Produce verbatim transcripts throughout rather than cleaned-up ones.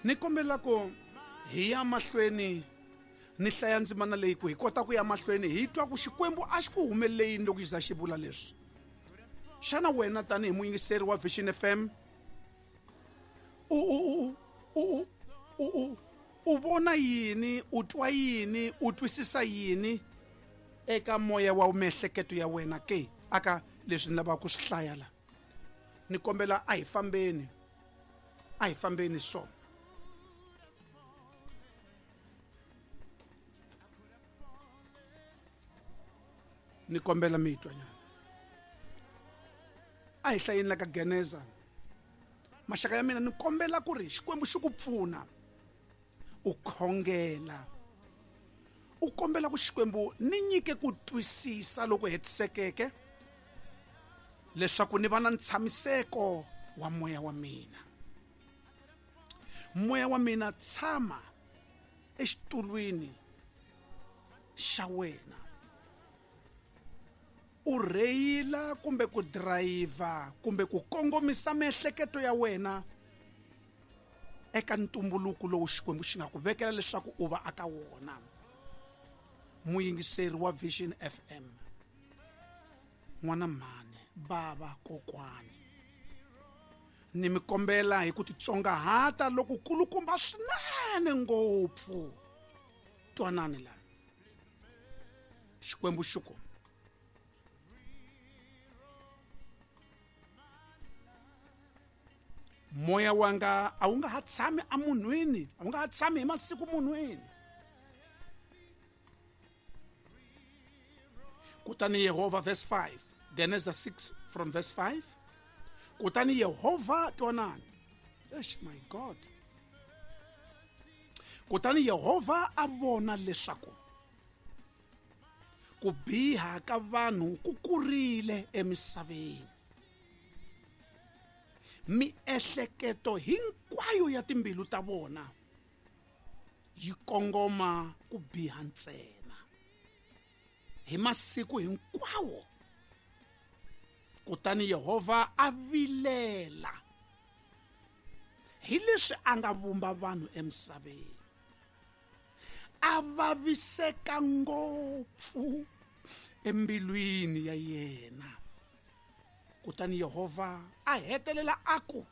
Ni kombela ku hi ya mahlweni ni hlaya ndzimana leyi ku hi kota ku ya mahlweni hi twa ku Xikwembu a xi ku humelele yini loko xi za xi vula leswi. Xana wena tanihi muyingiseri wa Vision F M u u u u u u vona yini, u twa yini, u twisisa yini eka moya wa miehleketo ya wena ke aka leswi ni lavaka ku swi hlaya la? Ni kombela a hi fambeni, a hi fambeni so. Ni kombela mi twa nyana. A hi hlayeni la ka Geneza. Maxaka ya mina, ni kombela ku ri Xikwembu xi ku pfuna u khongela, u kombela ku Xikwembu ni nyike ku twisisa loko hetisekeke leswaku ni va na ntshamiseko wa moya wa mina. Moya wa mina tshama exitulwini xa wena, u rheyila kumbe ku drayiva kumbe ku kongomisa miehleketo ya wena eka ntumbuluko lowu Xikwembu xi nga ku vekela leswaku u va aka wona. Muyingiseri wa Vision F M, n'wana mhani, bava, kokwani, ni mi kombela hi ku titsongahata loko kulukumba swinene ngopfu. Twanani la, Xikwembu xi ku moya wanga a wu nga ha tshami emunhwini, a wu nga ha tshami hi masiku munhwini. Kutani Yehovha, verse five, Genesis six from verse five. Kutani Yehovha, twanani, eish my God. Kutani Yehovha a vona leswaku ku biha ka vanhu ku kurile emisaveni, miehleketo hinkwayo ya timbilu ta vona yi kongoma ku biha ntsena hi masiku hinkwawo. Kutani Yehovha a vilela hi leswi a nga vumba vanhu emisaveni, a vaviseka ngopfu embilwini ya yena. Kutani Yehovha a hetelela a ku,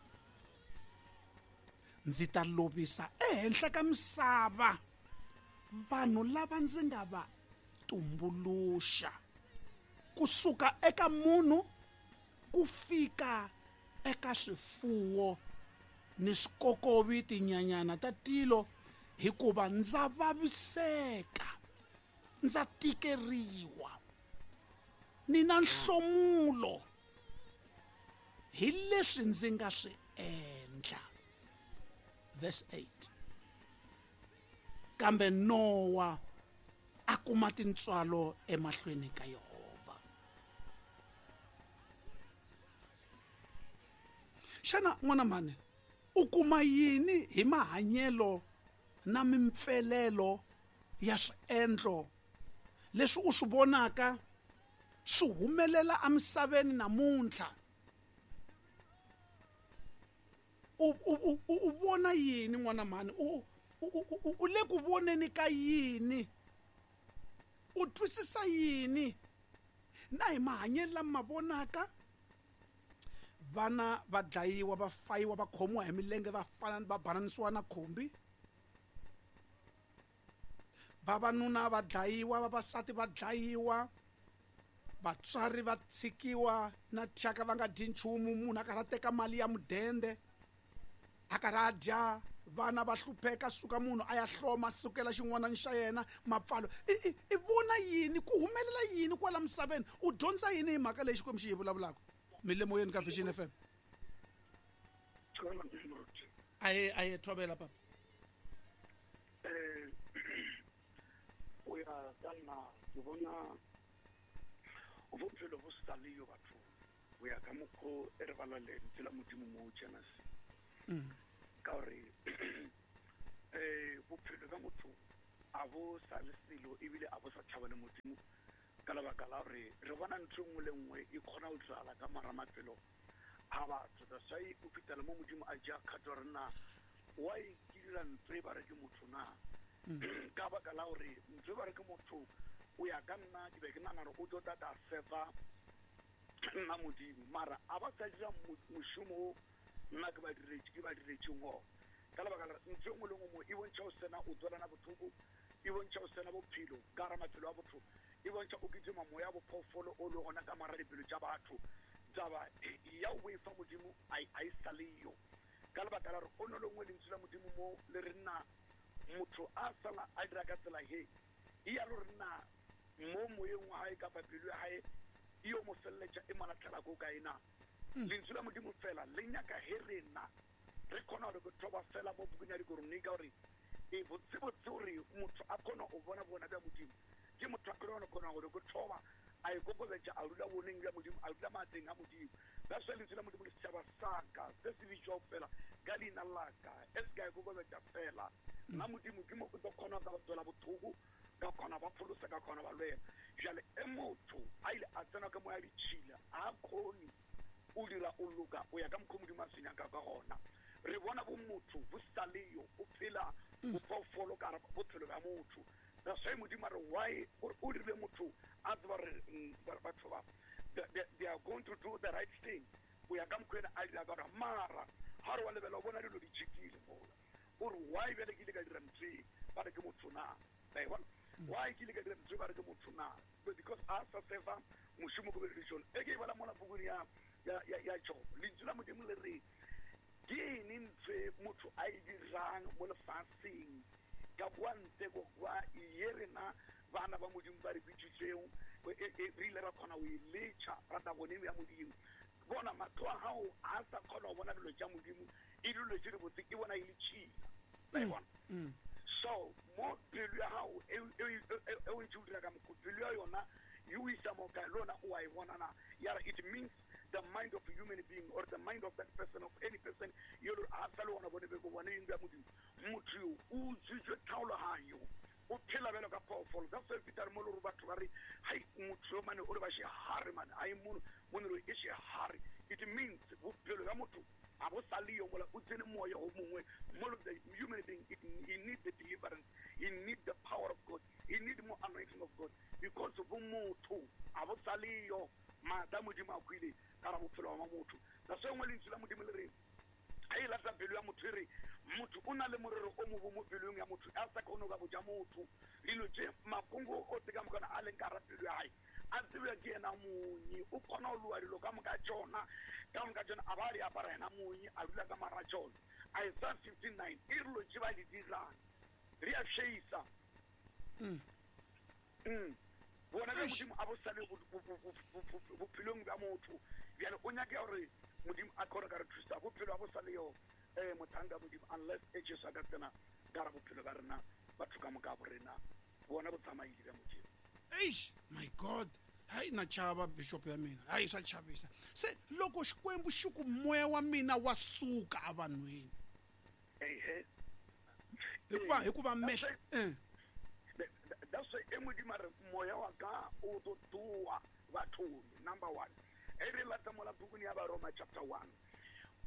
ndzi ta lovisa ehenhla ka misava vanhu lava ndzi nga va tumbuluxa, kusuka eka munhu ku fika eka swifuwo ni swikokovi, tinyanyana ta tilo, hikuva ndza vaviseka, ndza tikeriwa, ni na nhlomulo hi leswi ndzi nga swi endla. Verse eight. Kambe Nowa a kuma tintswalo emahlweni ka Yehovha. Xana n'wana mhani u kuma yini hi mahanyelo na mimpfelelo ya swiendlo leswi u swi vonaka swi humelela emisaveni namuntlha? U u u vona yini n'wana mhani? U u le ku voneni ka yini? U twisisa yini na hi mahanyelo lama vonaka? Vana va dlayiwa, va fayiwa, va khomiwa hi milenge, va fana va bananisiwa na khumbi. Vavanuna va dlayiwa, vavasati va dlayiwa, vatswari va tshikiwa na thyaka va nga dyi nchumu, munhu a karhi a teka mali ya mudende a karhi a dya, vana va hlupheka, suka munhu a ya hloma sukela xin'wana xa yena mapfalo. I i vona yini ku humelela yini kwala misaveni? U dyondza yini hi mhaka leyi Xikwembu xi yi vulavulaka? Mi le moyeni ka Vision F M. Aye aye thobela papa. Eh o ya ka nna ke bona bophelo bo sa le yo batho go ya ka mokgo e re bala lentswe la Modimo mo Genesis. Ka gore eh bophelo bja motho a bo sa le selo ebile a bo sa tšhaba le Modimo, ka lebaka la gore re bona ntho e nngwe le nngwe e kgona go diragala ka mara maphelo a batho. That's why o fitela mo Modimo a ja kgato re na why ke dira ntse ba re ke motho na ka baka la gore ntse ba re ke motho o ya ka nna ke be ke nagana gore o tlo tata sefa nna modimo mara a ba sa dira mošomo o nna ke ba diretse ke ba diretseng ona ka lebaka la ntho e nngwe le nngwe e bontšha o sena o tswelana botlhoko e bontšha o sena bophelo ka gara maphelo a botho e bontšha o kitima moya bophoofolo o le gona ka mara dipelo tša batho taba ya o boifa modimo a e sa leyo ka lebaka la gore o no lengwe lentswe la modimo mo le re nna motho a sala a dira ka tsela he e ya lo re nna mo moyeng wa hae kapa pelo ya hae e yo mo feleletša e malatlhela ko kae na lentswe la modimo fela le nyaka he rena re kgona gore ke thoba fela mo bukung ya dikoronika gore e botsebotse gore motho a kgona go bona bona bja modimo ke motho a kgona kgona gore ke thoba a ikokobetša a dula boneng bja modimo a dula maatleng a modimo that's why lentswe la modimo le setšhaba saka se se bitšwago fela ka leina laka e se ka ikokobetša fela nna modimo ke mo o tlo kgona ka ba tswela bothoko ka kgona ba pholosa ka kgona ba lwela jale e motho a ile a tsena ka moya ditšhila a kgone o dira o loka o ya ka mokgwa modimo a se nyaka ka gona re bona bo motho bo sa leyo o phela bophoofolo ka bophelo bja motho that's why modimo a re why o dirile motho a tseba gore batho ba they are going to do the right thing o ya ka mokgwa ena a dira ka gona mara ga re wa lebela o bona dilo di tšhikile mola o re why bjale ke ile ka dira ntho e ba re ke motho na ba e bona why ke ile ka dira ntho e ba re ke motho na because a sa sefa mošomo ko beleditšone e ke e bala mola pukung ya ya ya Job lentswe la modimo le re ke eng ntho e motho a e dirang mo lefatsheng ka kwa ntle ko kwa ye rena bana ba modimo ba re bitsitseng re ile ra kgona go e letšha rata bone ya modimo bona mahlo a gago a sa kgona go bona dilo tša modimo e dilo tše dibotse ke bona e le tšhila ba e bona so mo pelo ya gago e o ntse o dira ka mokgwa pelo ya yona e o isa mo kae le yona o a e bona na yara it means the mind of a human being or the mind of that person of any person yo a sa le gona bone be go bone eng ya modimo motho yo o utswitswe tlhaologanyo o phela bjalo ka phoofolo that's why fitare mo le gore batho ba re hai motho yo mane o re ba shehare mane ai mono mono e shehare it means bophelo bja motho a bo sa le yo mola o tsene moya o mongwe mo the human being it, he need the deliverance he need the power of God he need more anointing of God because bo motho a bo sa le yo maatla modimo a kwile ka ra bophelo ba motho that's why lentswe la modimo le re ga e lata pelo ya motho e re motho o na le morero o mobo mo pelong ya motho a sa kgone go ka botja motho dilo tše makongo o te ka mokana a leng ka ra pelo ya gae a tsebja ke yena monye o kgona go loa dilo ka moka tšona ka moka tšona a ba di apara yena monye a dula ka mara tšona Isaiah fifty-nine e re dilo tše ba di dirang re a šeisa bona bja modimo a bo sa le bophelong bja motho bjale o nyake gore modimo a kgone ka re thusa bophelo a bo sa le yo um mothanka modimo unless e Jesu a ka tsena ka ra bophelo ba rena batho ka moka bo rena bona bo tsamaile bja modimo eish my god hayi na chava bishop ya mina hayi swa chavisa se loko xikwembu xi ku moya wa mina wa suka evanhwini ehe hikuva hikuva mehla eh that's why e modimo a re moya wa ka o tlo tloa bathong number one e re lata mola bukung ya Baroma chapter one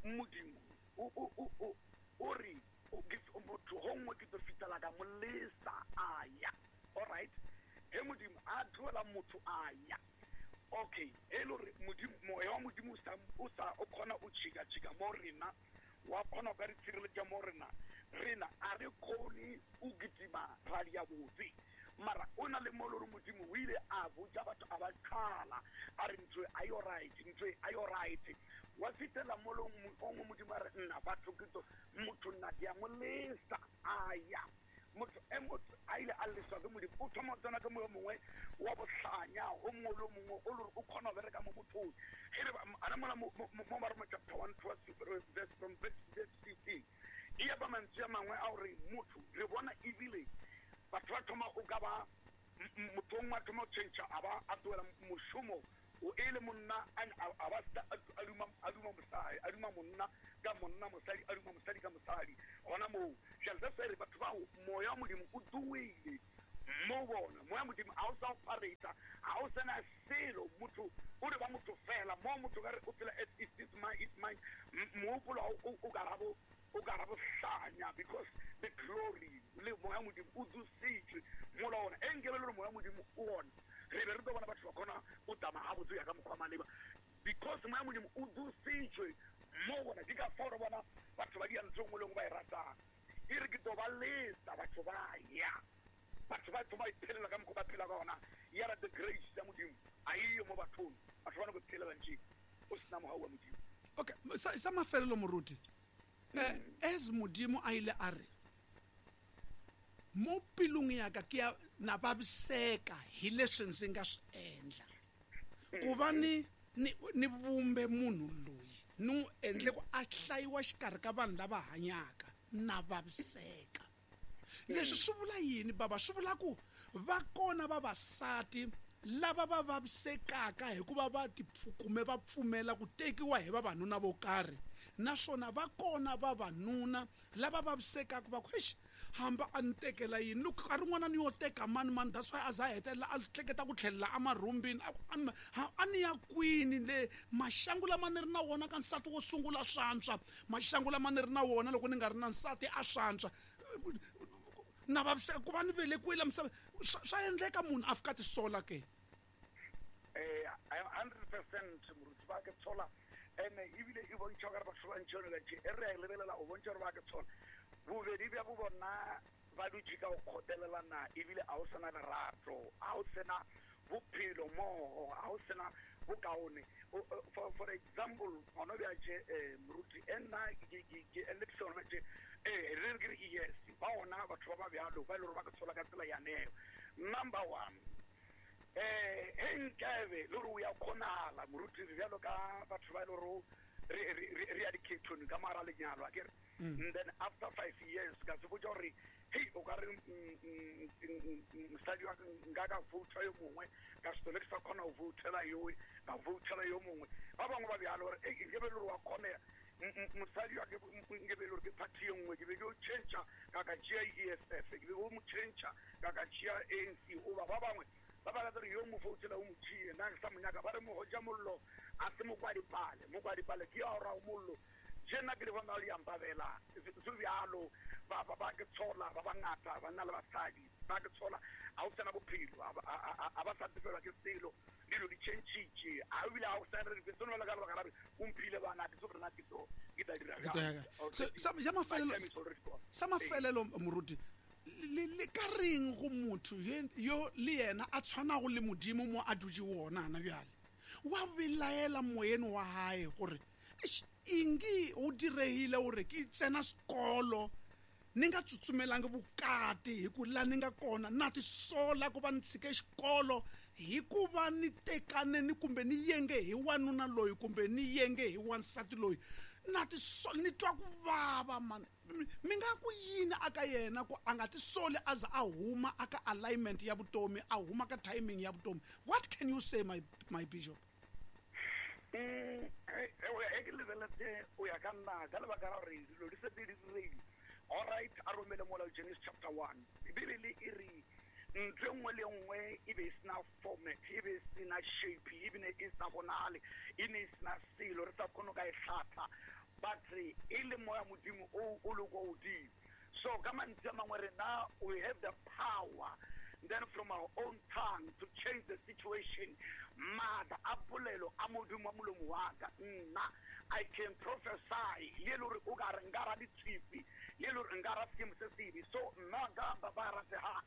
modimo o o o o re o motho gongwe ke tlo fitela ka molesa a ya all right he modimo a tloela motho a ya okay e le gore modimo moya wa modimo o sa o sa o kgona o tšhika-tšhika mo rena wa kgona go ka re tshireletša mo rena rena a re kgone o kitima ra dia botse mara o na le mo le gore modimo o ile a botša batho a ba qhala a re ntho a yo right ntho a yo right wa fitela mo le o ngwe modimo a re nna batho ke tlo motho nna ke a mo lesa a ya motho e motho a ile a leswa ke modimo o thoma go tsena ke moyo mongwe wa bohlanya o mongwe le o mongwe o le gore o kgona go bereka mo mothong e re a re mola mo Baroma chapter one verse from verse fifteen e ya ba mantswe a mangwe a gore motho re bona ebile batho ba thoma o ka ba motho o a thoma go change a ba a tloela mošomo o e le monna a ba a duma a duma mosadi a duma monna ka monna mosadi a duma mosadi ka mosadi gona moo jale that's why re batho bao moya wa modimo o tloile mo bona moya modimo a o sa o pareta ga o sena selo motho o re ba motho fela mo motho ka re o phela as is this mind is mind mogopolo o ka rabo o ka rabo hlanya because the glory le moya modimo o dusitswe mola ona e nkebe le moya modimo o ona re be re tlo bona batho ba kgona o tsamaya gabotse ya ka mokgwa maleba because moya modimo o dusitswe mo bona di ka fao re bona batho ba dia ntho nngwe le nngwe ba e ratang e re ke tlo ba lesa batho ba ya batho ba thoma iphelela ka mokgwa ba phela ka ona ya ra the grace ya modimo a eyo mo bathong batho ba no go phelela ntse o sena mogau wa modimo. Okay, sa sa mafelelo moruti eh as modimo a ile a re mo pelong ya ka ke ya na vaviseka hi leswi ndzi nga swi endla ku va ni ni ni vumbe munhu loyi ni n'wi endle ku a hlayiwa xikarhi ka vanhu lava hanyaka na vaviseka. Leswi swi vula yini baba? Swi vula ku va kona vavasati lava va vavisekaka hikuva va tipfukume va pfumela ku tekiwa hi vavanuna vo karhi, naswona va kona vavanuna lava vavisekaka va ku eish hamba a ni tekela yini loko nkarhi wun'wana ni yo teka mani mani that's why a za a hetelela a hleketa ku tlhelela emarhumbini a ni ya kwini le maxangu lama ni ri na wona ka nsati wo sungula swantswa maxangu lama ni ri na wona loko ni nga ri na nsati a swantswa na vaviseka ku va ni velekiwile misava swa endleka munhu a fika tisola ke eh hundred percent moruti ba ke tshola ene ebile e bontšha gore batho ba ntšhone ka tše e re a lebelela o bontšha gore ba ke tshola bobedi bja bo bona ba dutše ka go kgotelelana ebile a o sena lerato a o sena bophelo mmogo a o sena bokaone. For, for example gona bja tše moruti e nna ke eletše gona tše eh re re ke yes ba ona batho ba ba bjalo ba e le gore ba ke tshola ka tsela yaneo. Number one eh e nkabe le gore o ya kgonagala moruti re bjalo ka batho ba e le gore re re ya dikhethong ka mogara lenyalo a kere and then after five years ka se botša gore hei o ka re mosadi wa nka ka vouta yo mongwe ka setole ke sa kgona go voutela yowe ka voutela yo mongwe ba bangwe ba bjalo gore ei nkebe le gore wa kgonega mosadi wa ke nkebe le gore ke party ye nngwe ke be ke o change ka ka tšea E S F ke be ke o mo change ka ka tšea A N C oba ba bangwe ba ba gore yo mo voutela o mo tšee nna ke sa mo nyaka ba re mogoja mollo a se mokwadipale mokwadipale ke ya ora mollo je nna ke le bona le yampabela se bjalo ba ba ba ke tshola ba bangata banna le basadi ba ke tshola a o sena bophelo a ba sa tsefelwa ke selo dilo di changitše a ebile a o sa re sone ba ka lebaka la re o mphile bana ke tso rena ke tso ke tla dira sa mafelelo sa mafelelo moruti le le ka reng go motho yo le yena a tshwanago le modimo mo a dutše wona ana bjale wa belaela moyeni wa hae gore ingi o diregile gore ke tsena sekolo ni nga tsutsumelangi vukati hi ku la ni nga kona na tisola ku va ni tshike xikolo hikuva ni tekane ni kumbe ni yenge hi wanuna loyi kumbe ni yenge hi wansati loyi na tisola ni twa ku vava mani mi nga ku yini aka yena ku a nga tisoli a za a huma aka alignment ya vutomi a huma ka timing ya vutomi. What can you say my my bishop? Mm e ke lebeletse o ya ka nna ka lebaka la gore dilo di setse di diregile. All right, a romele mola Genesis chapter one Bibele e re ntho nngwe le nngwe e be e sena format e be e sena shape e bine e sa bonagale e ne e sena selo re sa kgone ka e hlatha but e le moya modimo o o le kwa godimo. So ka mantswe a mangwe rena we have the power then from our own tongue to change the situation. Maatla a polelo a modimo wa molomo wa ka nna I can prophesy le le gore o ka re nka ra ditshipi le le gore nka ra seemo se sebe. So nna ka ba ba ratega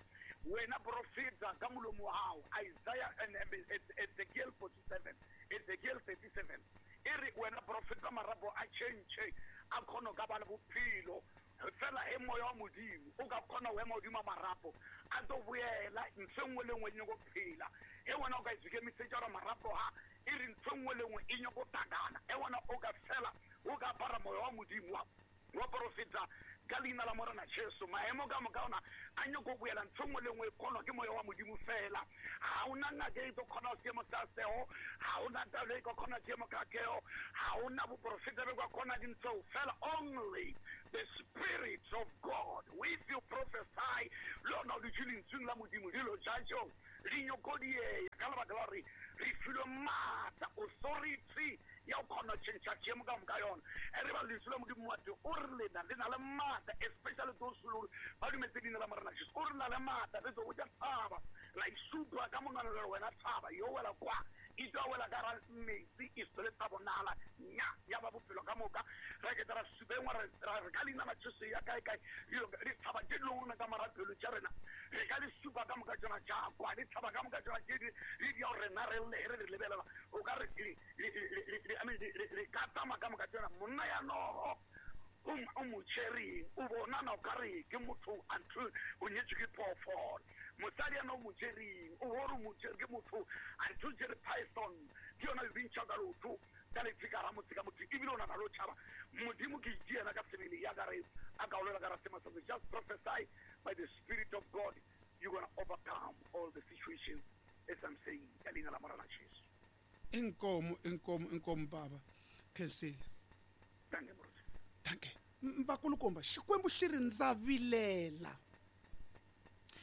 wena profeta ka molomo wa gago Isaiah and Ezekiel forty-seven Ezekiel thirty-seven e re wena profeta marapo a change a kgone ka ba le bophelo fela e moya wa modimo o ka kgona go ema godimo a marapo a tlo boela ntho nngwe le nngwe e nyako phela e wena o ka ikemisetša gore marapo ha e re ntho nngwe le nngwe e nyako takana e wena o ka fela o ka apara moya wa modimo wa wa profeta ka leina la Morena Jesu maemo ka moka ona a nyako boela ntho nngwe le nngwe e kgonwa ke moya wa modimo fela. Ga ona ngaka e tlo kgona seemo sa seo ga ona talo e ka kgona seemo ka keo ga ona boprofeta be ka kgona dintho fela. Only the spirit of God if you prophesy le ona o dutše lentsweng la modimo dilo tša tšeo di nyako diea ka lebaka la gore re filwe maatla authority ya go kgona go change seemo ka moka yona. E re ba lentswe la Modimo wa teng o re lena le na le maatla, especially those who ba dumetse leina la Morena Jesu. O re na le maatla, re tlo go ja tshaba la isupa ka monwana le wena tshaba yo wela kwa e tla wela ka ra metsi e sele tsa bonala nya ya ba bophelo ka moka. Re ke tla supengwa re re ka leina la Jesu ya kae kae di tshaba tse longwe ka marapelo tša rena re ka le supa ka moka tsona tša kwa di tshaba ka moka tsona tše di di ya rena re le re lebelela o ka re I mean re ka tsamaya ka moka tsona monna ya nogo o mo tšereng o bonana o ka re ke motho until o nyetswe ke phoofolo. Mosadi yana o mo tšereng o bore o mo tšere ke motho until tšere python ke yona e bintšha ka lotho ka lefika ra motse ka motho ebile o nana le o tšhaba Modimo ke itse yena ka sebele ya ka re a ka olela ka ra sema sa. Just prophesy by the Spirit of God, you're gonna overcome all the situations as I'm saying ka leina la Morena Jesu. Inkomo inkomo inkomo baba khensile. Thank you moruti. Thank you. Mbakulukomba Xikwembu xi ri ndza vilela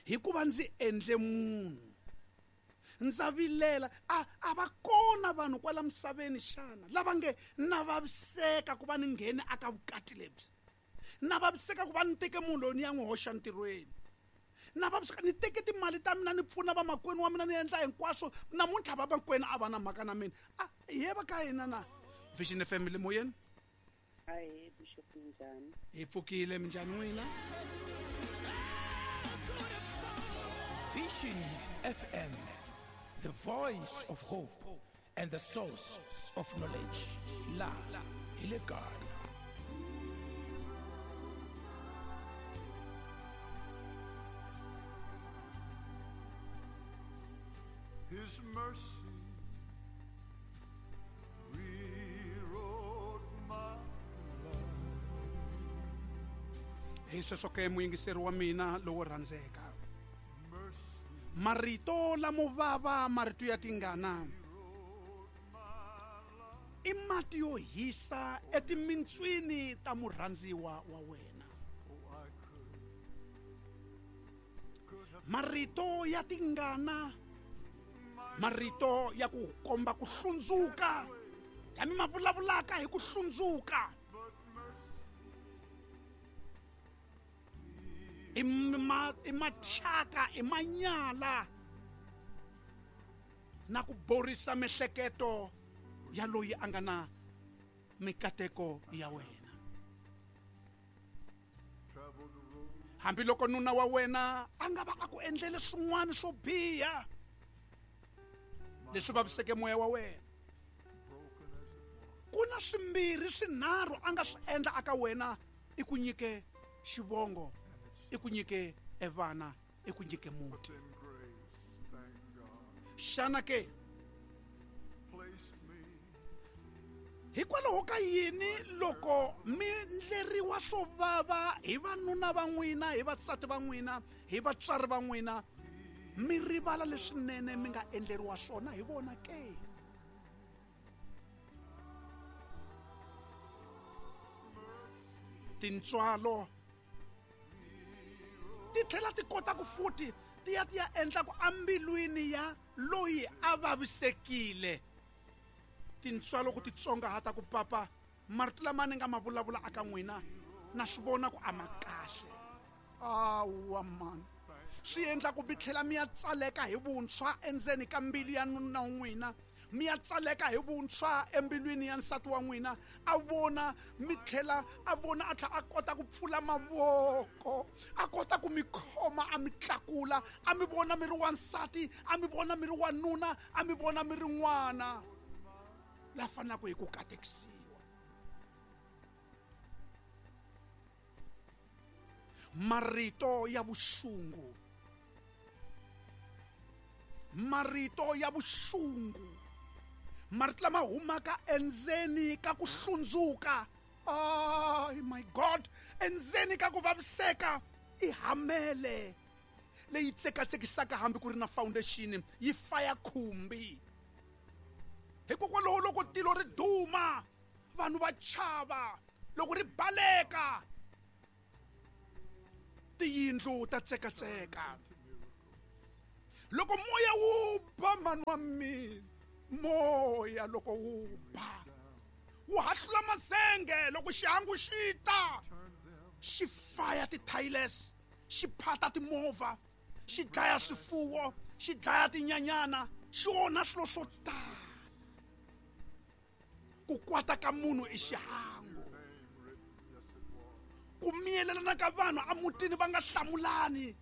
hikuva ndzi endle munhu. Ndza vilela a a va kona vanhu kwala misaveni xana lava nge na vaviseka ku va ni nghene aka vukati lebyi, na vaviseka ku va ni teke munhu loyi ni ya n'wi hoxa ntirhweni, na vaviseka ni teke timali ta mina ni pfuna vamakwenu wa mina ni endla hinkwaswo namuntlha vamakwenu a va na mhaka na mina. A hi va ka hina na Vision F M le moyeni. Hi Bishop, minjhani? Hi pfukile, minjhani n'wina? Vision F M, the voice of hope and the source of knowledge. La hi le Ghana. His mercy rewrote my life. Hi sweswo ke muyingiseri wa mina lowo rhandzeka, marito lamo vava, marito ya tingana i mati yo hisa etimintswini ta murhandziwa wa wena. Marito ya tingana, marito ya ku komba ku hlundzuka, lami ma vulavulaka hi ku hlundzuka, i ma i mathyaka, i manyala na ku borisa mihleketo ya loyi a nga na mikateko ya wena. Hambiloko nuna wa wena a nga va a ku endlele swin'wana swo biha leswi vaviseke moya wa wena, ku na swimbirhi swinharhu a nga swi endla aka wena i ku nyike xivongo, i ku nyike evana, i ku nyike muti. Xana ke hikwalaho ka yini loko mi ndleriwa swo vava hi vanuna va n'wina, hi vasati va n'wina, hi vatswari va n'wina, mi rivala leswinene mi nga endleriwa swona hi vona ke? Tintswalo ti tlhela ti kota ku futhi ti ya ti ya endla ku ambilwini ya loyi a vavisekile. Tintswalo ku titsongahata ku papa marito lama ni nga ma vulavula aka n'wina na swi vona ku a ma kahle. Awa mani, swi endla ku mi tlhela mi ya tsaleka hi vuntshwa endzeni ka mbilu ya nuna wa n'wina, mi ya tsaleka hi vuntshwa embilwini ya nsati wa n'wina. A vona mi tlhela a vona a tlhela a kota ku pfula mavoko, a kota ku mi khoma, a mi tlakula, a mi vona mi ri wansati, a mi vona mi ri wanuna, a mi vona mi ri n'wana la fanelaka hi ku katekisiwa. Marito ya vuxungu, marito ya vuxungu, marito lama humaka endzeni ka ku hlundzuka, oh my God, endzeni ka ku vaviseka, i hamele leyi tsekatsekisaka hambi ku ri na foundation yi faya khumbi. Hikokwalaho loko tilo ri duma vanhu va chava, loko ri baleka tiyindlu ta tsekatseka. Loko moya wu ba mani wa mina, moya loko wu ba Wu hahlula mazenge loko xihangu xi ta. Xi faya ti-tiles, xi phata timovha, xi dlaya swifuwo, xi dlaya tinyanyana, xi onha swilo swo tala. Ku kwata ka munhu i xihangu. Ku miyelelana ka vanhu emutini va nga hlamulani.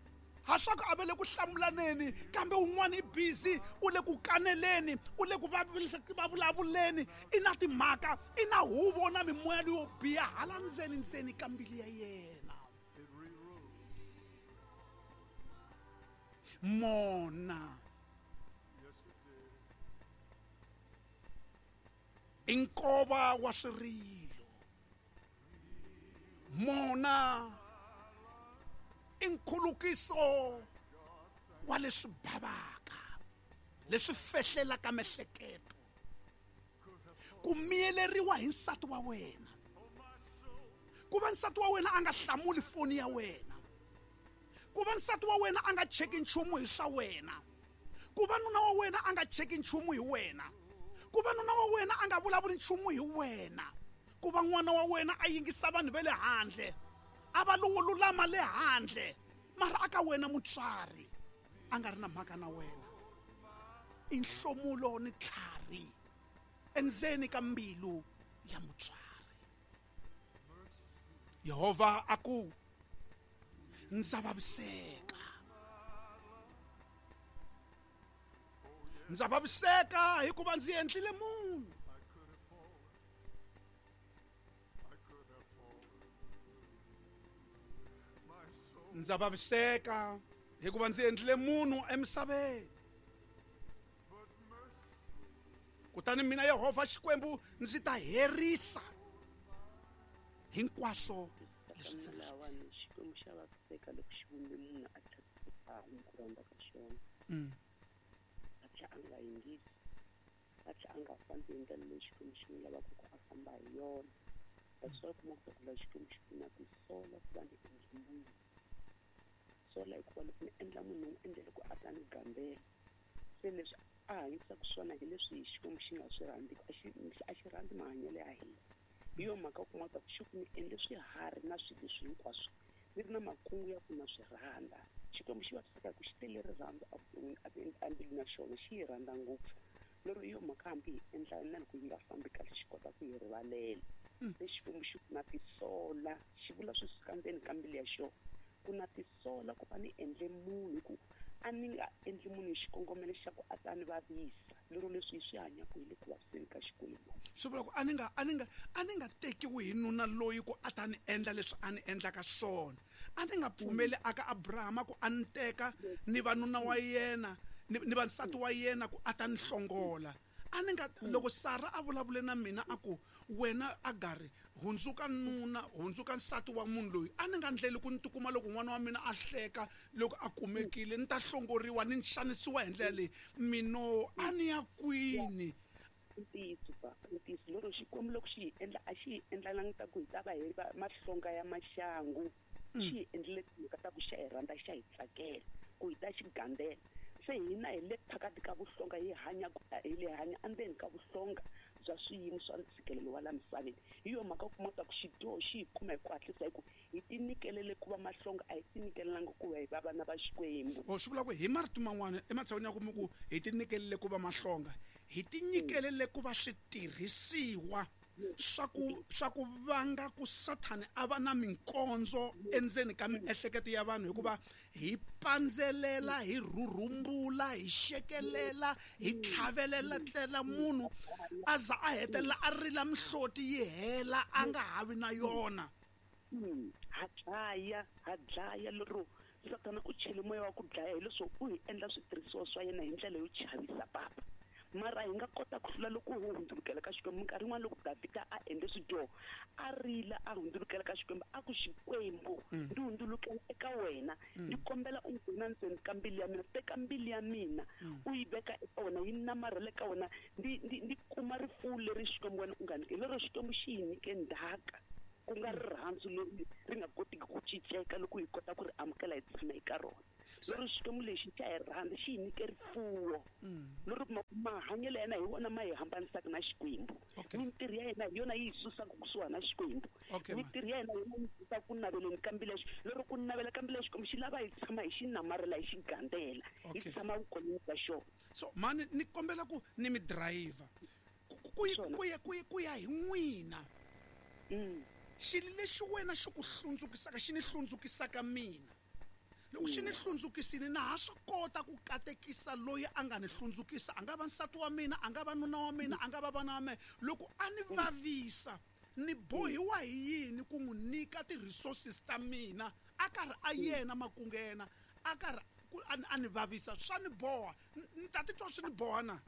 Ha swa ku a va le ku hlamulaneni, kambe un'wana i busy, u le ku kaneleni, u le ku vulavuleni, i na timhaka, i na huvo na mimoya leyo biha hala ndzeni ndzeni ka mbilu ya yena. Mona i nkova wa swirilo. Mona i nkhulukiso wa leswi bavaka, leswi fehlelaka miehleketo. Ku miyeleriwa hi nsati wa wena, ku va nsati wa wena a nga hlamuli foni ya wena, ku va nsati wa wena a nga cheki nchumu hi swa wena, ku va nuna wa wena a nga cheki nchumu hi wena, ku va nuna wa wena a nga vulavuli nchumu hi wena, ku va n'wana wa wena a yingisa vanhu va le handle, a va lowo lulama le handle, mara aka wena mutswari a nga ri na mhaka na wena. I nhlomulo ni tlhari endzeni ka mbilu ya mutswari. Yehovha a ku, ndza vaviseka, ndza vaviseka hikuva ndzi endlile munhu. Ndza vaviseka hikuva ndzi endlile munhu emisaveni. Kutani mina Yehovha Xikwembu ndzi ta herisa hinkwaswo leswi ndzi nga swi. Xikwembu xa vaviseka loko xi vumbe munhu a tlhela ku rhandza ka xona. A tlhela a nga yingisi, a tlhela a nga fambi hi ndlela leyi Xikwembu xi n'wi lavaka ku a famba hi yona. That's why kuma ku la Xikwembu xi ku na tisola ku va ni endle munhu. Sola hikuva loko ni endla munhu ni endlele ku a ta ni gambela. Se leswi a hanyisaka swona hi leswi Xikwembu xi nga swi rhandziki, a xi a xi rhandzi mahanyelo ya hina. Hi yo mhaka u kuma ku xi ku ni endle swiharhi na swilo leswi hinkwaswo ni ri na makungu ya ku na swi rhandza. Xikwembu xi vaviseka hi ku xi tele rirhandzu evuton'wini embilwini ya xona, xi yi rhandza ngopfu. Lero hi yo mhaka hambi hi endla na loko yi nga fambi kahle xi kota ku hi rivalela. Se Xikwembu xi ku na tisola, xi vula swi suka ndzeni ka mbilu ya xona. Ku na tisola ku va ni endle munhu, hi ku a ni nga endli munhu hi xikongomelo xa ku a ta ni vavisa. Lero leswi hi swi hanyaka hi le ku vaviseni ka Xikwembu. Swi vula ku a ni nga a ni nga a ni nga tekiwi hi nuna loyi ku a ta ni endla leswi a ni endlaka swona. A ni nga pfumeli aka Abrahama ku a ni teka ni va nuna wa yena ni ni va nsati wa yena ku a ta ni hlongola. A ni nga loko Sara a vulavule na mina a ku wena Agari hundzuka nuna, hundzuka nsati wa munhu loyi, a ni nga ndleli ku ni tikuma loko n'wana wa mina a hleka loko a kumekile ni ta hlongoriwa ni xanisiwa hi ndlela leyi. Mino a ni ya kwini? Ntiyiso papa, ntiyiso. Lero Xikwembu loko xi hi endla a xi hi endlelangi ta ku hi ta va hi va mahlonga ya maxangu. Xi hi endlele timhaka ta ku xa hi rhandza, xa hi tsakela ku hi ta xi gandzela. Se hina hi le phakati ka vuhlonga, hi hanya hi le hanya endzeni ka vuhlonga bya swiyimo swa ntshikelelo wa la misaveni. Hi yo mhaka u kuma ku xidyoho xi hi kuma hi ku hatlisa, hi ku hi tinyikelele ku va mahlonga, a hi tinyikelelangi ku va hi va vana va Xikwembu. O swi vula ku hi marito man'wana ematshan'wini ya ku mi ku hi tinyikelele ku va mahlonga, hi tinyikelele ku va switirhisiwa swa ku swa ku vanga ku Sathani a va na minkondzo endzeni ka miehleketo ya vanhu, hikuva hi pandzelela, hi rhurhumbula, hi xekelela, hi tlhavelela tlela munhu a za a hetelela a rila mihloti yi hela a nga havi na yona. Ha dlaya, ha dlaya lero Sathana u chele moya wa ku dlaya hileswo u hi endla switirhisiwa swa yena hi ndlela yo chavisa papa. Mara hi nga kota ku hlula loko hi hundzulukela ka Xikwembu. Minkarhi yin'wana loko Davhida a endle swidyoho a rila a hundzulukela ka Xikwembu, a ku Xikwembu ndzi hundzulukela eka wena, ndzi kombela u nghena ndzeni ka mbilu ya mina, teka mbilu ya mina u yi veka eka wena, yi namarhela eka wena, ndzi ndzi ndzi kuma rifuwo leri Xikwembu wena u nga nyike. Lero Xikwembu xi hi nyike ndzhaka. Ku nga rirhandzu leri ri nga kotiki ku cinceka loko hi kota ku ri amukela hi tshama eka rona. Lero Xikwembu lexi xa hi rhandza xi hi nyike rifuwo. Lero mahanyelo ya yena hi wona ma hi hambanisaka na Xikwembu. Mintirho ya yena hi yona yi hi susaka kusuhana na Xikwembu. Mintirho ya yena hi yona yi susaka ku naveleni ka mbilu ya Xikwembu. Lero ku navela ka mbilu ya Xikwembu xi lava hi tshama hi xi namarhela hi xi gandzela. Hi tshama vukoneni bya xona. So mani ni kombela ku ni mi driver. Ku ya ku ya ku ya hi n'wina. Xilo lexi wena xi ku hlundzukisaka xi ni hlundzukisaka mina. Loko xi ni hlundzukisile na ha swi kota ku katekisa loyi a nga ni hlundzukisa, a nga va nsati wa mina, a nga va nuna wa mina, a nga va vana wa mina. Loko a ni vavisa ni bohiwa hi yini ku n'wi nyika ti-resources ta mina a karhi a yena makungu ya yena a karhi a ni vavisa, swa ni boha. Ni ta titwa swi ni boha na?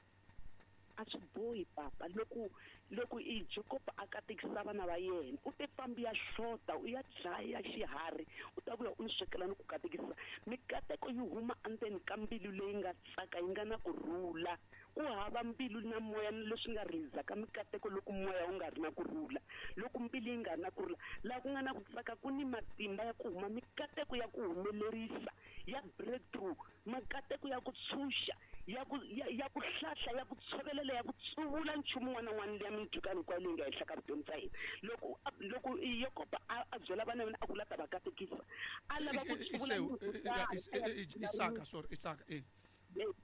A swi bohi papa. Loko loko i Jacob a katekisa vana va yena u te fambi ya hlota u ya dlaya xiharhi u ta vuya u ni swekela ni ku katekisa. Mikateko yi huma endzeni ka mbilu leyi nga tsaka yi nga na ku rhula. Ku hava mbilu na moya leswi nga rizaka mikateko loko moya wu nga ri na ku rhula. Loko mbilu yi nga ri na ku rhula, laha ku nga na ku tsaka ku ni matimba ya ku huma mikateko ya ku humelerisa, ya breakthrough, mikateko ya ku tshunxa, ya ku ya ku hlahla, ya ku tshovelela, ya ku tsuvula nchumu wun'wana na wun'wana liya mindzhukano hinkwayo leyi nga henhla ka vutomi bya hina. Loko loko Yakobo a byela vana va yena a ku la ta va katekisa, a lava ku tsuvula Isaka, sorry, Isaka, eh.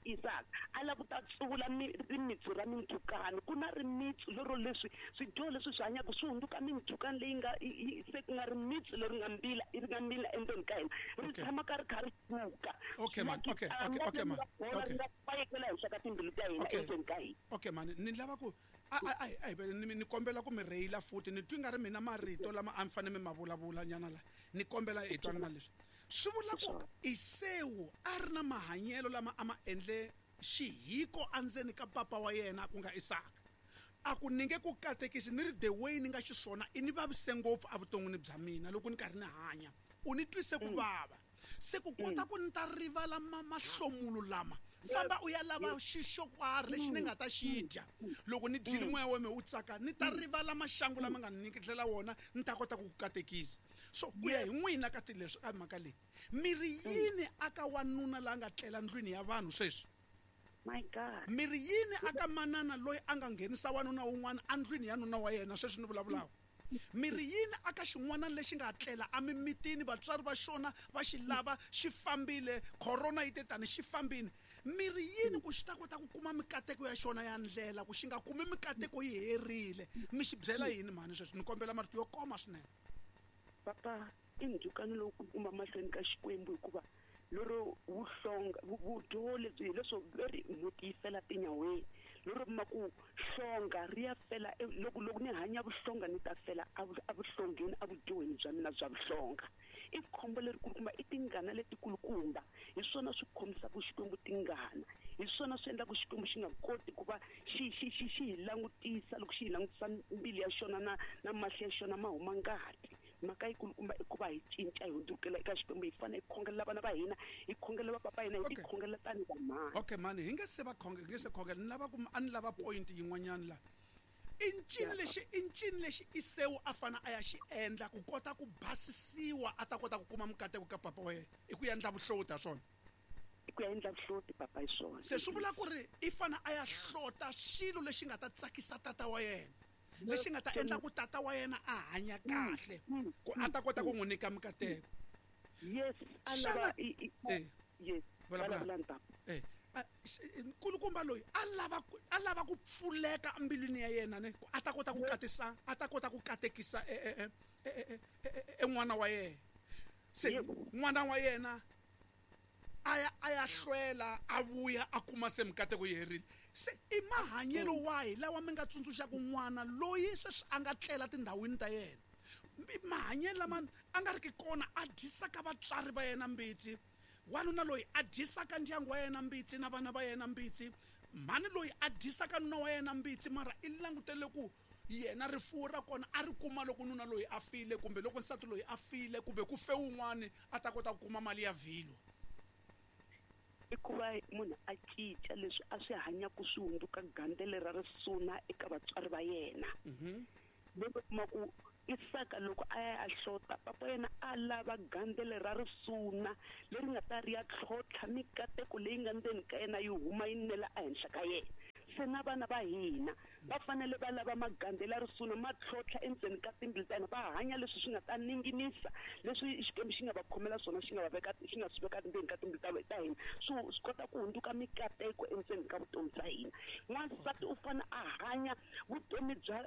Isaka a lava ku ta tsuvula rimitsu ra mindzhukano. Ku na rimitsu lero leswi swidyoho leswi swi hanyaka swi hundzuka mindzhukano leyi nga se ku nga rimitsu leri nga mbila ri nga mbila endzeni ka hina ri tshama ka ri kha ri suka. Okay man, okay, okay, okay man. Okay. Ri nga fayekela henhla ka timbilu ta hina endzeni ka hina. Okay man, ni lava ku a a a ni ni kombela ku mi rheyila futhi ni twi nga ri mina marito lama a mi fanele mi ma vulavula nyana la. Ni kombela hi twanana leswi. Swi vula ku Esawu a ri na mahanyelo lama a ma endle xihiko endzeni ka papa wa yena ku nga Isaka. A ku ni nge ku katekisi ni ri the way ni nga xiswona i ni vavise ngopfu evuton'wini bya mina loko ni karhi ni hanya. U ni twise ku vava. Se ku kota ku ni ta rivala mahlomulo lama famba u ya lava xixo karhi lexi ni nga ta xi dya. Loko ni dyile moya wa mina wu tsaka ni ta rivala maxangu lama nga ni nyiketela wona ni ta kota ku ku katekisa. So ku ya hi n'wina ka ti leswi ka mhaka leyi mi ri yini aka wanuna la nga tlela ndlwini ya vanhu sweswi? My God. Mi ri yini aka manana loyi a nga nghenisa wanuna wun'wana endlwini ya nuna wa yena sweswi ni vulavulaka? Mi ri yini aka xin'wana lexi nga tlela emimitini vatswari va xona va xi lava xi fambile corona yi te tani xi fambile? Mi ri yini ku xi ta kota ku kuma mikateko ya xona ya ndlela ku xi nga kumi mikateko yi herile? Mi xi byela yini mhani sweswi? Ni kombela marito yo koma swinene. Papa, i ndzhukano lowu kulukumba mahlweni ka Xikwembu hikuva lero vuhlonga vudyoho lebyi hi leswo veri mhunti yi fela tinyaweni. Lero ma ku hlonga ri ya fela loko loko ni hanya vuhlonga ni ta fela evuhlongeni evudyoheni bya mina bya vuhlonga. I khombo lerikulukumba, i tingana letikulukumba. Hi swona swi khomisaka Xikwembu tingana. Hi swona swi endlaka Xikwembu xi nga koti ku va xi xi xi xi hi langutisa loko xi hi langutisa mbilu ya xona na na mahlo ya xona ma huma ngati. Mhaka yikulukumba i ku va hi cinca hi hundzukela eka Xikwembu. Hi fanele hi khongelela vana va hina, hi khongelela vapapa hina, hi tikhongelela tanihi vamhani. Okay mani, hi nge se va khonge, hi nge se khongela. Ni lava ku a ni lava point yin'wanyana la. I ncini lexi i ncini lexi Esawu a fana a ya xi endla ku kota ku basisiwa a ta kota ku kuma mikateko ka papa wa yena? I ku endla vuhlota swona? I ku ya endla vuhloti papa hi swona. Se swi vula ku ri i fana a ya hlota xilo lexi nga ta tsakisa tata wa yena, lexi nga ta endla ku tata wa yena a hanya kahle ku a ta kota ku n'wi nyika mikateko. Yes, a lava yes, vulavula papa. Eh, nkulukumba loyi a lava a lava ku pfuleka embilwini ya yena ne ku a ta kota ku katisa a ta kota ku katekisa e e e n'wana wa yena. Se n'wana wa yena a ya a ya hlwela a vuya a kuma se mikateko yi herile. Se i mahanyelo wahi lawa mi nga tsundzuxaka n'wana loyi sweswi a nga tlela tindhawini ta yena? Mahanyelo lama a nga ri ki kona a dyisaka vatswari va yena mbitsi, wanuna loyi a dyisaka ndyangu wa yena mbitsi na vana va yena mbitsi, mhani loyi a dyisaka nuna wa yena mbitsi mara i langutele ku yena rifuwo ra kona a ri kuma loko nuna loyi a file kumbe loko nsati loyi a file kumbe ku fe wun'wani a ta kota ku kuma mali ya vhilo. I ku va munhu a cinca leswi a swi hanyaka swi hundzuka gandzelo ra risuna eka vatswari va yena. Loko kuma ku Isaka loko a ya a hlota papa yena a lava gandzelo ra risuna leri nga ta ri ya tlhontlha mikateko leyi nga ndzeni ka yena yi huma yi nela ehenhla ka yena. Se na vana va hina va fanele va lava magandzelo ya risuna ma tlhontlha endzeni ka timbilu ta hina, va hanya leswi swi nga ta ninginisa leswi Xikwembu xi nga va khomela swona, xi nga va veka, xi nga swi veka ndzeni ka timbilu ta ta hina, swi swi kota ku hundzuka mikateko endzeni ka vutomi bya hina. N'wansati u fanele a hanya vutomi bya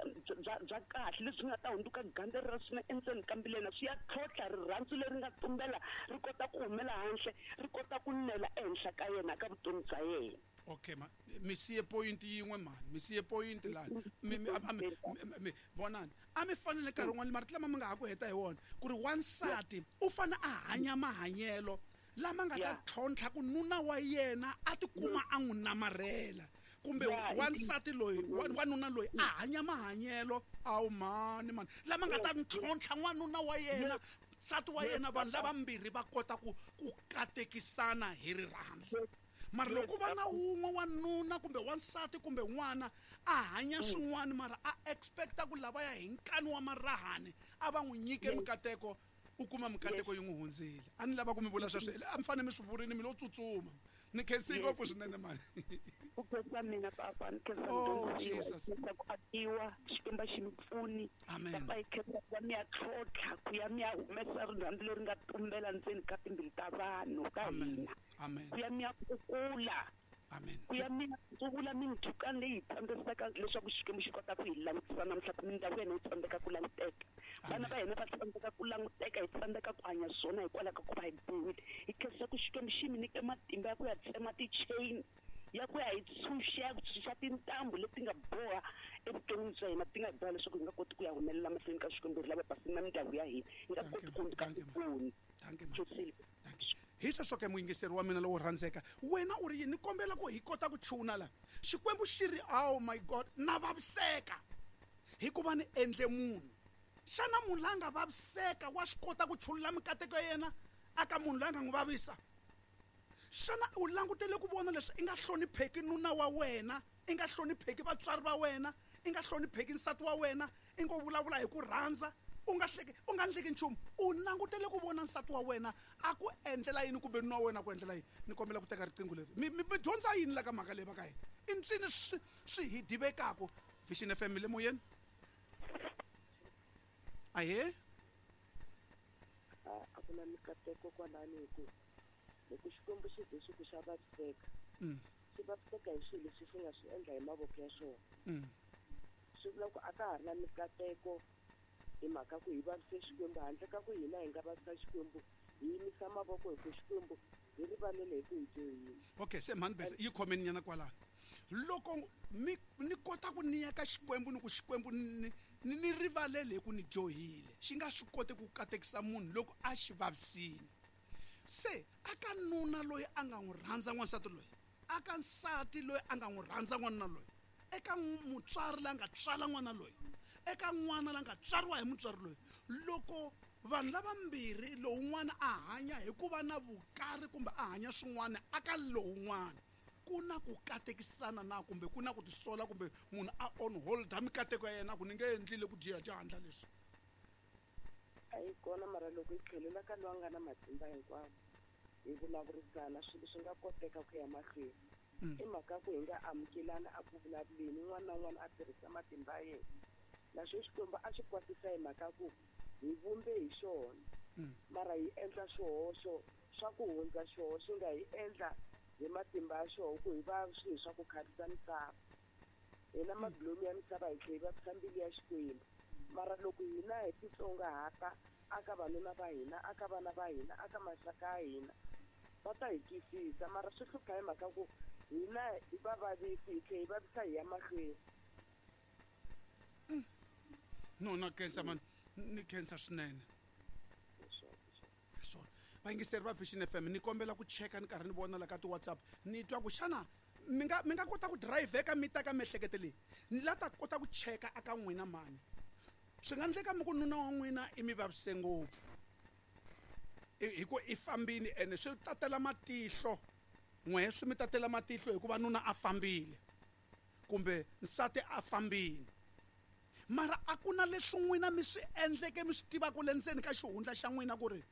bya bya kahle leswi nga ta hundzuka gandzelo ra risuna endzeni ka mbilu ya yena, swi ya tlhontlha rirhandzu leri nga tumbela ri kota ku humela handle, ri kota ku nela ehenhla ka yena ka vutomi bya yena. Okay ma mi siye point yin'we mani, mi siye point lani mi mi mi vonani a mi fanele nkarhi wun'wani marito lama mi nga ha ku heta hi wona ku ri wansati u fane a hanya mahanyelo lama nga ta tlhontlha ku nuna wa yena a tikuma a n'wi namarhela, kumbe wansati loyi wanuna loyi a hanya mahanyelo awu mani mani lama nga ta ntlhontlha n'wanuna wa yena, nsati wa yena, vanhu lavambirhi va kota ku ku katekisana hi rirhandzu. Mara loko va na wun'we wanuna kumbe wansati kumbe n'wana a hanya swin'wana mara a expecta ku lavaya hi nkani wa marahani a va n'wi nyike mikateko, u kuma mikateko yi n'wi hundzile. A ni lava ku mi vula sweswo, a mi fanele mi swi vurini mi lo tsutsuma. Ni khensi ngopfu swinene mani. Ku khensa mina papa, ni khensa mudyondzisi ku akiwa Xikwembu xi mi pfuni. Papa hi khensa ku va mi ya tlhontlha ku ya mi ya humesa rirhandzu leri nga tumbela ndzeni ka timbilu ta vanhu ta hina. Amen. Ku ya mi ya kukula. Amen. Ku ya mi ya tsuvula mindzhukano leyi hi tsandzekaka leswaku Xikwembu xi kota ku hi langutisa namuntlha, ku mindyangu ya hina yi tsandzeka ku languteka, vana va hina va tsandzeka ku languteka, hi tsandzeka ku hanya swona hikwalaho ka ku va hi biwile. Hi khensa ku Xikwembu xi mi nyike matimba ya ku ya tsema ti-chain, ya ku ya hi tshunxa, ya ku tshunxa tintambu leti nga boha evuton'wini bya hina, ti nga boha leswaku hi nga koti ku ya humelela mahlweni ka Xikwembu, hi ri lava basini na mindyangu ya hina, hi nga koti ku hundzuka tipfuni. Hi sweswo ke muyingiseri wa mina lowo rhandzeka, wena u ri yini? Ni kombela ku hi kota ku chuna la Xikwembu xi ri oh my God, na vaviseka hikuva ni endle munhu. Xana munhu la nga vaviseka wa swi kota ku chulula mikateko ya yena aka munhu loyi a nga n'wi vavisa? Xana u langutele ku vona leswi i nga hlonipheki nuna wa wena, i nga hlonipheki vatswari va wena, i nga hlonipheki nsati wa wena, i ngo vulavula hi ku rhandza, u nga hleki, u nga ndleki nchumu, u langutele ku vona nsati wa wena a ku endlela yini kumbe nuna wa wena ku endlela yini? Ni kombela ku teka riqingho leri. Mi mi dyondza yini la ka mhaka leyi va ka hina? I ntswini swi swi hi divekaku. Vision F M le moyeni. Ahee. A ku na mikateko kwalani hi ku loko Xikwembu xi ze xi ku xa vaviseka, xi vaviseka hi swilo leswi xi nga swi endla hi mavoko ya xona. Swi vula ku a ka ha ri na mikateko hi mhaka ku hi vavise Xikwembu, handle ka ku hina hi nga vavisa Xikwembu, hi yimisa mavoko hi ku Xikwembu hi rivalele hi ku hi dyohile. Okay, se mhani bese yi khomeni nyana kwalano. Loko mi ni kota ku ni ya ka Xikwembu ni ku Xikwembu ni ni rivalele hi ku ni dyohile, xi nga swi koti ku katekisa munhu loko a xi vavisile. Se aka nuna loyi a nga n'wi rhandza n'wansati loyi, aka nsati loyi a nga n'wi rhandza n'wanuna loyi, eka mutswari la nga tswala n'wana loyi, eka n'wana la nga tswariwa hi mutswari loyi, loko vanhu lavambirhi lowun'wana a hanya hi ku va na vukari kumbe a hanya swin'wana aka lowun'wana, ku na ku katekisana na kumbe ku na ku tisola kumbe munhu a on hold mikateko ya yena ku ni nge endlile ku dyiha dyandla leswi. A yi kona, mara loko hi tlhelela ka loyi a nga na matimba hinkwawo hi vulavurisana swilo swi nga koteka ku ya mahlweni. I mhaka ku hi nga amukelani a ku vulavuleni, un'wana na un'wana a tirhisa matimba ya yena. Naswo Xikwembu a xi kwatisa hi mhaka ku hi vumbe hi xona, mara hi endla swihoxo swa ku hundza xoho xi nga hi endla hi matimba ya xoho ku hi va swilo swa ku khavisa misava. Hina mabilomu ya misava hi tlhela hi vavisa mbilu ya Xikwembu. Mara loko hina hi titsongahata aka vanuna va hina, aka vana va hina, aka maxaka ya hina, va ta hi twisisa. Mara swi hlupha hi mhaka ku hina hi va vavisi, hi tlhela hi vavisa hi ya mahlweni. No, na khensa mani, ni khensa swinene. Swona vayingiseri va Vision F M, ni kombela ku cheka ni karhi ni vona la ka ti-WhatsApp, ni twa ku xana mi nga mi nga kota ku dirayivheka mi ta ka miehleketo leyi, ni la ta kota ku cheka aka n'wina mani. Swi nga endleka mi ku nuna wa n'wina i mi vavise ngopfu hi ku i fambile, ene swi tatela matihlo n'we, swi mi tatela matihlo hikuva nuna a fambile kumbe nsati a fambile. Mara a ku na leswi n'wina mi swi endleke mi swi tivaka le ndzeni ka xihundla xa n'wina ku ri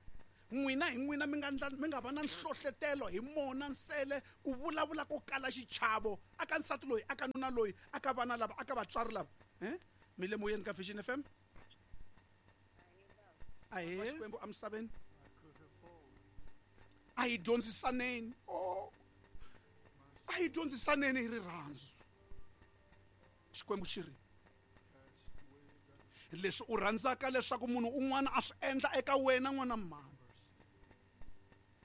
n'wina hi n'wina mi nga mi nga va na nhlohletelo hi mona nsele ku vulavula ko kala xichavo aka nsati loyi aka nuna loyi aka vana lava aka vatswari lava eh mi le moyeni ka Vision F M ahe Xikwembu emisaveni a hi dyondzisaneni oh a hi dyondzisaneni hi rirhandzu Xikwembu xi ri leswi u rhandzaka leswaku munhu un'wana a swi endla eka wena n'wana mhani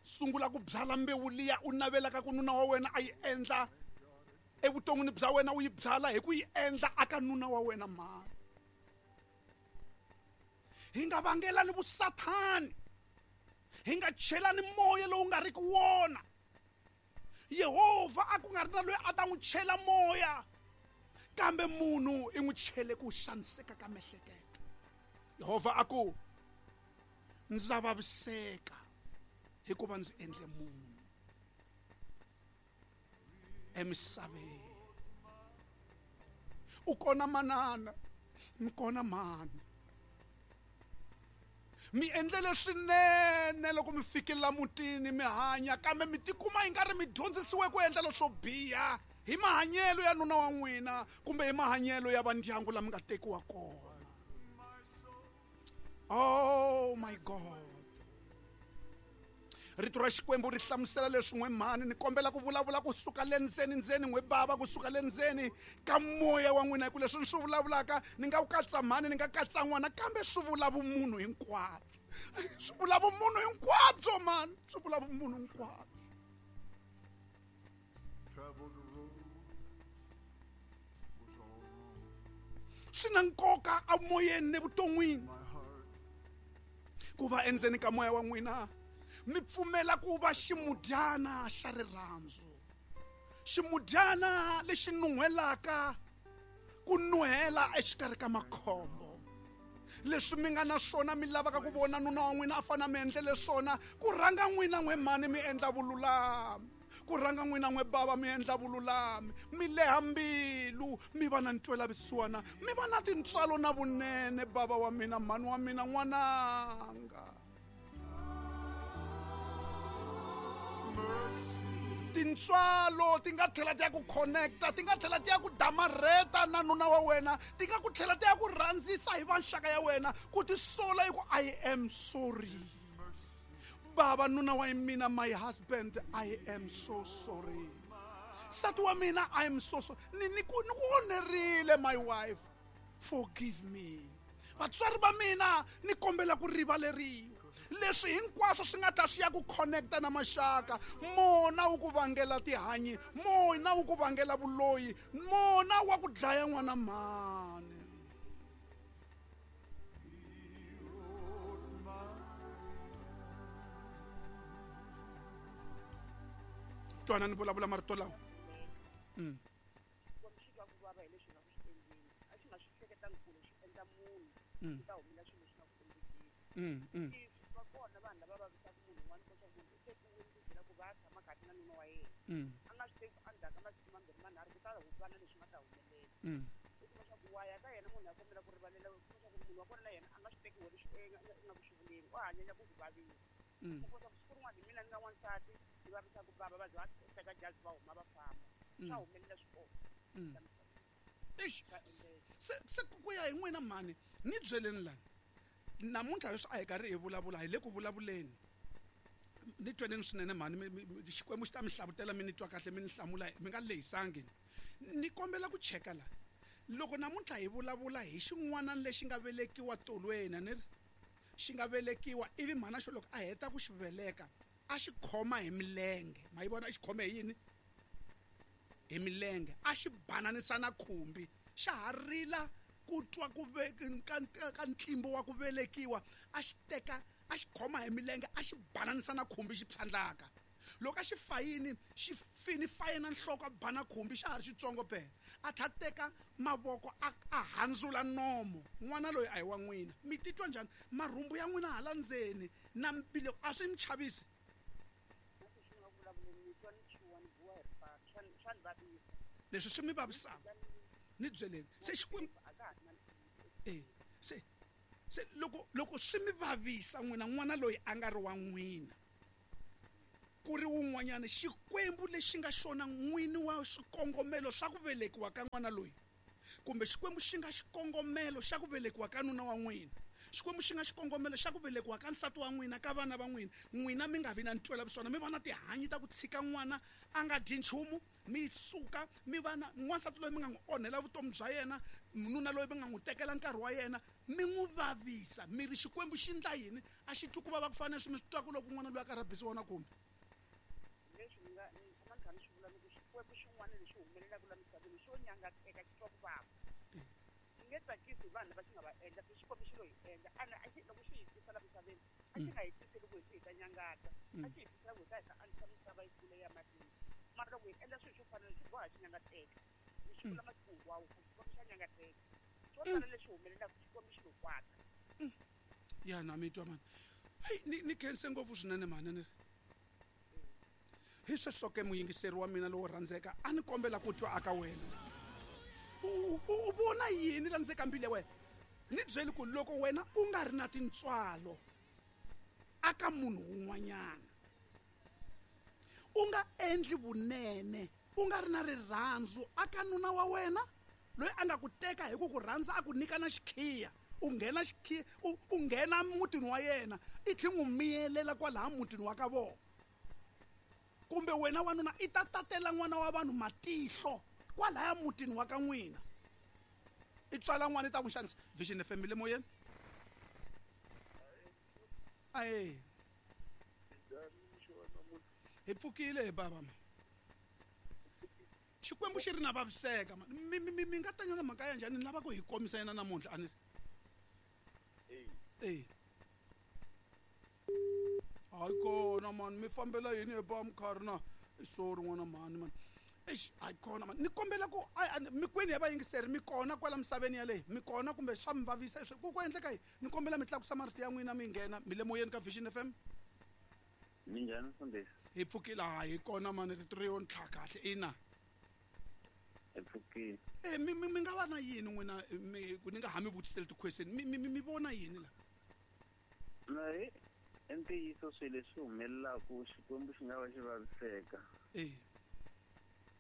sungula ku byala mbewu liya u navelaka ku nuna wa wena a yi endla evuton'wini bya wena u yi byala hi ku yi endla aka nuna wa wena mhani hi nga vangelani vusathani hi nga chelani moya lowu nga riki wona Yehovha a ku nga ri na loyi a ta n'wi chela moya kambe munhu i n'wi chele ku xaniseka ka miehleketo Yehovha a ku ndza vaviseka hikuva ndzi endle munhu emisaveni u kona manana mi kona mhani mi endlele swinene loko mi fikelela mutini mi hanya kambe mi tikuma yi nga ri mi dyondzisiwe ku endla leswo biha hi mahanyelo ya nuna wa n'wina kumbe hi mahanyelo ya vandyangu lama nga tekiwa kona oh my God rito ra Xikwembu ri hlamusela leswi n'we mhani ni kombela ku vulavula kusuka le ndzeni ndzeni n'we bava kusuka le ndzeni ka moya wa n'wina hi ku leswi ni swi vulavulaka ni nga wu katsa mhani ni nga katsa n'wana kambe swi vula vumunhu hinkwabyo swi vula vumunhu hinkwabyo mhani swi vula vumunhu hinkwabyo swi na nkoka emoyeni nevuton'wini ku va endzeni ka moya wa n'wina mi pfumela ku va ximudyana xa rirhandzu ximudyana lexi nun'hwelaka ku nuhela exikarhi ka makhombo leswi mi nga na swona mi lavaka ku vona nuna wa n'wina a fana mi endlele swona ku rhanga n'wina n'we mhani mi endla vululami ku rhanga n'wina n'we bava mi endla vululami mi leha mbilu mi va na ntwelavusiwana mi va na tintswalo na vunene bava wa mina mhani wa mina n'wananga tintswalo ti nga tlhela ti ya ku connecta ti nga tlhela ti ya ku damarheta na nuna wa wena ti nga ku tlhela ti ya ku rhandzisa hi vanxaka ya wena ku tisola hi ku I am sorry baba nuna wa mina my husband I am so sorry nsati wa mina I am so sorry ni ni ku ni ku onherile my wife forgive me vatswari va mina ni kombela ku rivaleriwa leswi hinkwaswo swi nga ta swi ya ku connecta na maxaka mona wu ku vangela tihanyi mona wu ku vangela vuloyi mona wa ku dlaya n'wana mhani twana ni vulavula marito lawa mm mm mm kona vanhu lava vavisaka munhu un'wana leswaku munhu u tekiwile ku byela ku va tshama kahle na nuna wa yena a nga swi tivi ku endzhaku ka masiku mambirhi manharhu ku ta va na leswi nga ta humelela u kuma swa ku wa ya ka yena munhu a kombela ku rivalela u kuma swa ku munhu wa kona na yena a nga swi tekiwe leswi nga ku swi vuleni u hanyanya ku ku vavisa u kuma swa ku siku rin'wana hi mina ni nga n'wansati ni vavisaka bava va ze va teka jazi va huma va famba swa humelela swi kona eish se se ku ya hi n'wina mhani ni byeleni lani namuntlha leswi a hi karhi hi vulavula hi le ku vulavuleni ni tweneni swinene mhani Xikwembu xi ta mi hlavutela mi ni twa kahle mi ni hlamula mi nga lehisangi ni kombela ku cheka la loko namuntlha hi vulavula hi xin'wana lexi nga velekiwa tolweni a ni ri xi nga velekiwa ivi mhana xo loko a heta ku xi veleka a xi khoma hi milenge ma yi vona a xi khome hi yini hi milenge a xi bananisa na khumbi xa ha rila ku twa ku ka ka ntlimbo wa ku velekiwa a xi teka a xi khoma hi milenge a xi bananisa na khumbi xi phyandlaka loko a xi fayini xi fini fayina nhloko a bana khumbi xa ha ri xitsongo phela a tlha teka mavoko a a handzula nomo n'wana loyi a hi wa n'wina mi titwa njhani marhumbu ya n'wina hala ndzeni na mbilu a swi mi chavisi leswi swi mi vavisaka ni byeleni se Xikwembu E se se loko loko swi mi vavisa n'wina n'wana loyi a nga ri wa n'wina ku ri wun'wanyana xikwembu lexi nga xona n'wini wa swikongomelo swa ku velekiwa ka n'wana loyi kumbe xikwembu xi nga xikongomelo xa ku velekiwa ka nuna wa n'wina xikwembu xi nga xikongomelo xa ku velekiwa ka nsati wa n'wina ka vana va n'wina n'wina mi nga vi na ntwela vusiwana mi va na tihanyi ta ku tshika n'wana a nga dyi nchumu mi suka mi va na n'wansati loyi mi nga n'wi onhela vutomi bya yena nuna loyi mi nga n'wi tekela nkarhi wa yena mi n'wi vavisa mi ri xikwembu xi ndla yini a xi twi ku vava ku fana na leswi mi swi twaka loko n'wana loyi a karhi a bisiwa na kumbe leswi ni nga ni tshama ni kha ni swi vula ni ku xikwembu xin'wana lexi humelelaka la misaveni xo nyangateka xi twa ku vava xi nge tsakisi hi vanhu lava xi nga va endla se xikwembu xi lo hi endla ene a xi loko xi hi tisa la misaveni a xi nga hi tiseli ku hi hi ta nyangata a xi hi tisela ku hi ta hi ta andzisa misava yi kula ya mahlweni mara loko hi endla swilo swo fana swi boha xi nyangateka ni xi vula masiku hinkwawo ku xikwembu xa nyangateka swo tala leswi humelelaka xikwembu xi lo kwata ya na mi twa mani hayi ni ni khense ngopfu swinene mhani ni ri hi sweswo ke muyingiseri wa mina lowo rhandzeka a ni kombela ku twa aka wena u u vona yini la ndzi ka mbilu ya wena ni byeli ku loko wena u nga ri na tintswalo aka munhu wun'wanyana u nga endli vunene u nga ri na rirhandzu aka nuna wa wena loyi a nga ku teka hi ku ku rhandza a ku nyika na xikhiya u nghena xikhiya u u nghena mutini wa yena i tlhe n'wi miyelela kwalaha mutini wa ka vona kumbe wena wanuna i ta tatela n'wana wa vanhu matihlo kwalaya mutini wa ka n'wina i tswala n'wana i ta ku xanisa Vision F M le moyeni ae hi pfukile hi bava ma xikwembu xi ri na vaviseka ma mi mi mi nga tanyana mhaka ya njhani ni lava ku hi komisa yena namuntlha a ni ri e hayi kona mani mi fambela yini hi ba mukharhi na sorry n'wana mhani mani eish hayi kona mani ni kombela ku mi kwini ya vayingiseri mi kona kwala misaveni yaleyi mi kona kumbe swa mi vavisa ku ku endleka yini ni kombela mi tlakusa marito ya n'wina mi nghena mi le moyeni ka Vision F M minjhani mfundhisi hi pfukile hayi kona mani rito ri yo ntlha kahle ina hi pfukile e mi mi mi nga va na yini n'wina mi ku ni nga ha mi vutiseli ti-question mi mi mi vona yini la na hi i ntiyiso swilo leswi humelelaku xikwembu xi nga va xi vaviseka e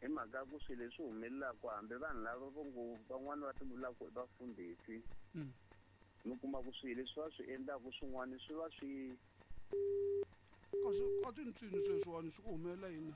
hi mhaka ku swilo leswi humelelaku hambi vanhu lava vo ngo van'wani va ti vulaka i vafundhisi mi kuma ku swilo leswi va swi endlaku swin'wana swi va swi kasi a tintswini sweswiwani swi ku humelela yini